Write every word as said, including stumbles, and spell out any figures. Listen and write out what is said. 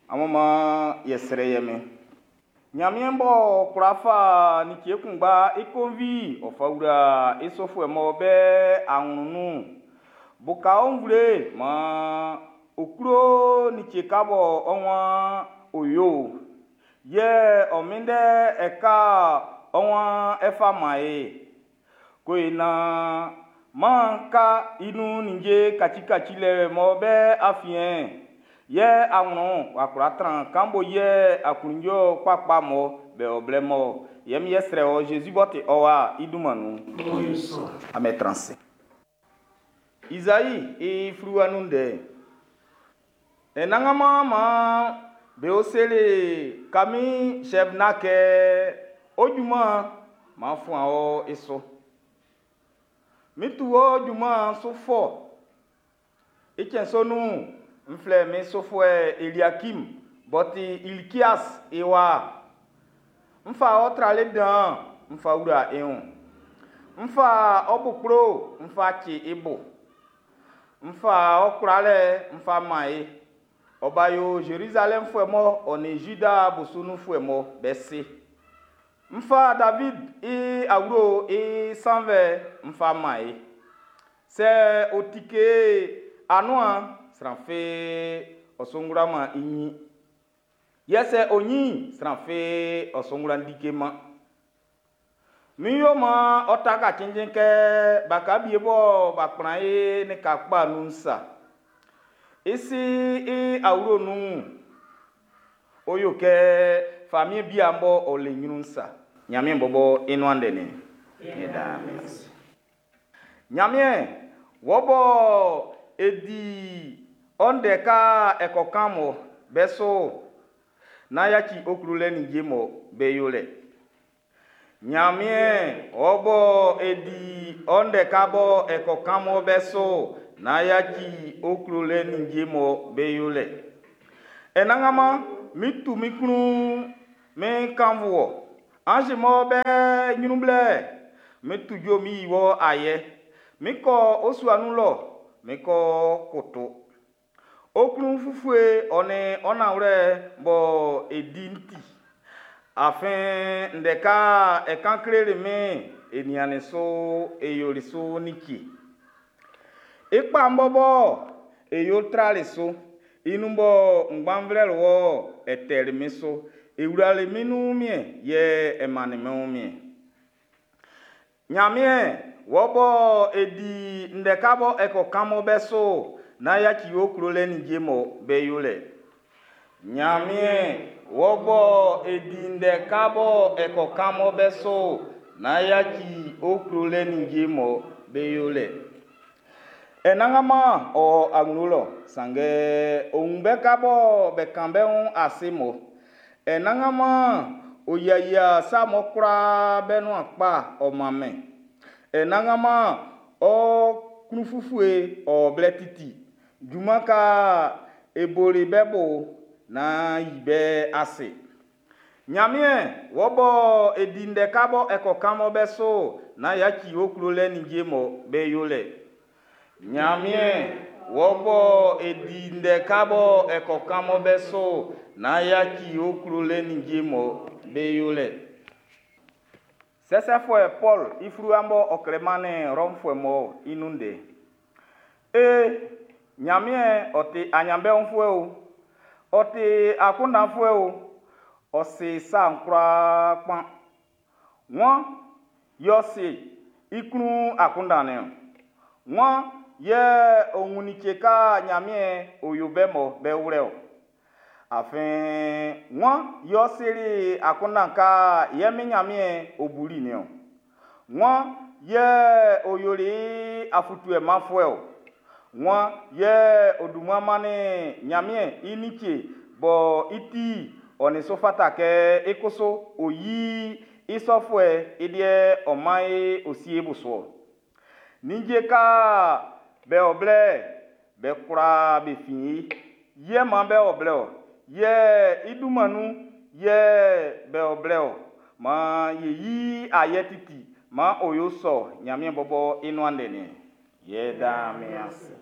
Amun maan ye srɛ ye Min. Ɲanmiɛn b'ɔ kwla fa like kunngba i konvi ɔ fa wla i sufuɛ mɔ be awlɛn'n nun'n, buka ɔ nvle maan ɔ klo like ka bɔ ɔ waan ɔ ʼyo'n, yɛ ɔ minndɛ ɛka ɔ waan e fa man e. Ko e naan maan ka i nun ninnge kacikacilɛ mɔ be afiɛn, yɛ awlɛn w'a kwla tran kan bo yɛ aklunjuɛ kpakpa mɔ be o blɛ mɔ yɛ mi yɛ srɛ wɔ Zezi b'ɔ ti ɔ wa i dunman nun. Amen transe. Izai i fluwa nun ndɛ'n. Anannganman maan be seli Kami Sɛbna kɛ, Ɔ junman'n, m'an fua ɔ su. Min tu ɔ junman'n su fɔ. I cɛn sɔ nun'n, n ʼflɛ min sufuɛ Eliakim b'ɔ ti Ilkias i wa'n. N ʼfa ɔ tralɛ dan'n n ʼfa wla i wun. N ʼfa ɔ́ bo kplo'n n ʼfa ci i bo. N ʼfa ɔ kwlalɛ'n n ʼfa man i. Ɔ ʼba yo Zerizalɛmfuɛ mun ɔ nin Zida osu nunfuɛ mun bé si. N ʼfa David i awlo'n i sannvɛn n ʼfa man i. Sɛ ɔ tike anuan'n, sran fi ɔ su wla-man i nyin. Yɛ sɛ ɔ nyin'n, sran fi ɔ su kwla tike-man. N ʼyo man ɔ ʼtaka cinnjin kɛ baka bie bɔ b'a kplan i lika kpa nun'n sa. I si i awlo'n nun'n, ɔ ʼyo kɛ famiɛn bia b'ɔ le nyrun'n sa. Nyanmiɛn bɔbɔ i nuan ndɛ nin. Nyanmiɛn, wɔ bɔ e di ɔ ndɛ ka e ko kan mɔ be su'n, nán yaci ɔ klolɛ ninnge mɔ be yolɛ. Nyanmiɛn, wɔ bɔ e di ɔ ndɛ ka bɔ e ko kan mɔ be su'n, nán yaci ɔ klolɛ ninnge mɔ be yolɛ. Anannganman, mi tu min klun mi kannvun wɔ. Anz mɔ be ɲrun blɛ, mi tu jue mi yi wɔ ayɛ. Mi kɔ ɔ sua nun lɔ, mi ko koto. Ɔ klun ufue ɔ nin ɔ nanwlɛ bɔ e di'n ti. Afin ndɛ ka e kan kleli min'n, e niannin su e yoli su like. I kpa'n bɔbɔ, e yo trali su. I nun bɔ n kpan flɛli wɔ'n, e tɛli min su. E wlali min wunmiɛn, yɛ e mannin min wunmiɛn. Nyanmiɛn, wɔ bɔ e di ndɛ ka bɔ e ko kan mɔ be su'n, nán yaci ɔ klolɛ ninnge mɔ be yolɛ. Nyanmiɛn, wɔ bɔ e di ndɛ ka bɔ e ko kan mɔ be su'n, nán yaci ɔ klolɛ ninnge mɔ be yolɛ. Anannganman o awlo lɔ, sanngɛ ɔ wun be ka bɔ be kan be wun ase mun. Anannganman ɔ yiayia sa mɔ kwlaa be nuan kpa ɔ man min. Anannganman, ɔ klun-ufue'n ɔ o blɛ titi. Junman nga e boli be bo'n, nán yi be ase. Nyanmiɛn, wɔ bɔ e di ndɛ ka bɔ e ko kan mɔ be su'n, nán yaci ɔ klolɛ ninnge mɔ be yolɛ. Nyanmiɛn, wɔ bɔ e di ndɛ ka bɔ e ko kan mɔ be su'n, nán yaci ɔ klolɛ ninnge mɔ be yolɛ. Sɛsɛfuɛ Pɔlu i fluwa b'ɔ klɛ mannin Rɔmfuɛ mun'n i nun ndɛ. Ee, Ɲanmiɛn ɔ ti aɲanbeunfuɛ o, ɔ ti akunndanfuɛ o, ɔ si sa'n kwlaa kpan. Wan yɛ ɔ si i klun akunndan'n niɔn? Wan yɛ ɔ wun like nga Ɲanmiɛn ɔ yo be'n be wlɛ ɔ? Afin wan yɛ ɔ sili akunndan nga e Min Ɲanmiɛn'n ɔ bu'n niɔn? Wan yɛ ɔ yoli i afɔtuɛ manfuɛ ɔ? Wan yɛ ɔ dun mmua mannin Ɲanmiɛn i like bɔ i ti ɔ nin su fata kɛ i kusu ɔ yi i sɔfuɛ'n i liɛ ɔ man e ɔ sie i su ɔ? Ninnge nga be o blɛ'n, be kwlaa be fin i. I yɛ maan be o blɛ-ɔ. Yɛ i dunman nun yɛ be o blɛ-ɔ. Maan e yi i ayɛ titi. Maan ɔ yo sɔ. Ɲanmiɛn bɔbɔ i nuan ndɛ'n niɔn. Yɛ da min ase.